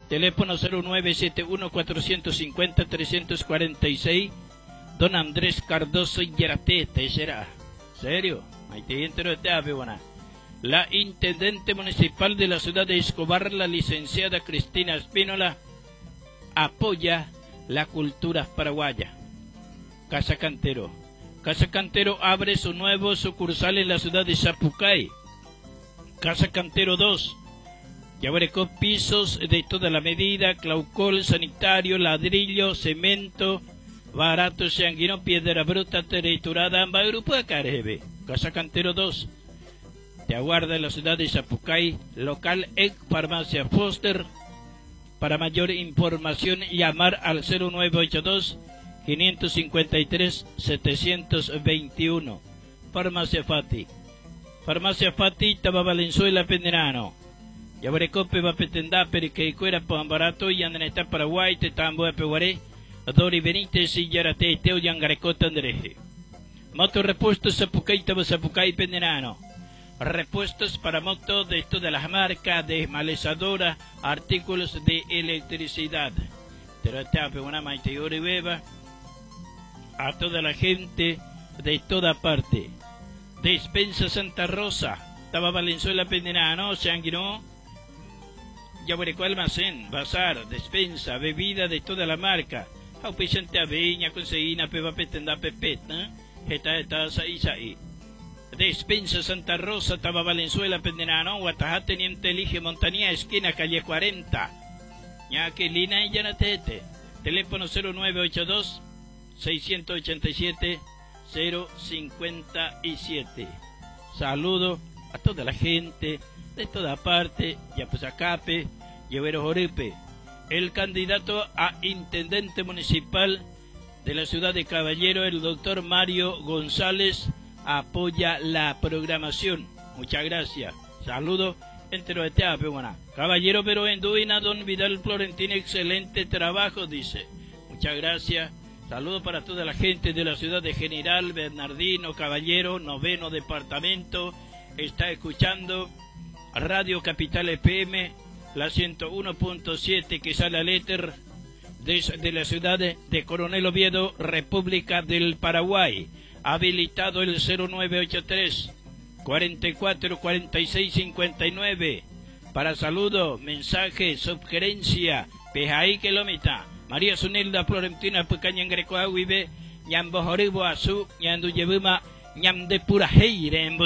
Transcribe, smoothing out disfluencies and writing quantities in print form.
Teléfono 0971 450 346. Don Andrés Cardoso Yaratete será. ¿Serio? La intendente municipal de la ciudad de Escobar, la licenciada Cristina Espínola, apoya la cultura paraguaya. Casa Cantero. Casa Cantero abre su nuevo sucursal en la ciudad de Sapucay. Casa Cantero 2. Yaguarecó pisos de toda la medida, claucol, sanitario, ladrillo, cemento, barato, sanguino, piedra bruta, triturada, amba grupo de Carebe. Casa Cantero 2. Te aguarda en la ciudad de Sapucay, local ex Farmacia Foster. Para mayor información, llamar al 0982 553 721. Farmacia Fati. Farmacia Fati, Taba Valenzuela, Penderano. Yabarecope va petendá, periqueicuera, Pambarato, y Andreta Paraguay, Tetambo, Peguaré, Dori Benítez y Yarate, Teo Yangarecota, Andreje. Moto Repuestos Zapucay, Taba Zapucay, Penderano. Repuestos para moto de todas las marcas, desmalezadora, artículos de electricidad. A toda la gente de toda parte. Despensa Santa Rosa, Taba Valenzuela Penderano, Sanguinó, Yabureco Almacén, Bazar, Despensa, bebida de toda la marca. Auspiciante Aveña, Conseguina, Peba Petenda, Pepeta, Jeta, Eta, Saí, Despensa Santa Rosa, Taba Valenzuela, Penderano, Guatajá, Teniente Elige, Montaña, esquina, calle 40. Ñaquelina y Yanatete. Teléfono 0982 687 057. Saludo a toda la gente de toda parte, Yapusacape, Llevero Joripe. El candidato a intendente municipal de la ciudad de Caballero, el doctor Mario González, apoya la programación. Muchas gracias. Saludo entero de Teape, buena. Caballero, pero en Duina, don Vidal Florentino, excelente trabajo, dice. Muchas gracias. Saludo para toda la gente de la ciudad de General Bernardino Caballero, noveno departamento. Está escuchando Radio Capital FM, la 101.7 que sale al éter desde la ciudad de Coronel Oviedo, República del Paraguay. Habilitado el 0983 44 46 59 para saludo, mensaje, sugerencia, pejaí que lo mitad. María Sunilda Florentina Pucaña Greco Aguibe, Ñambo Joribo Azú, Ñandu Yebuma, Ñam de Pura Heire en.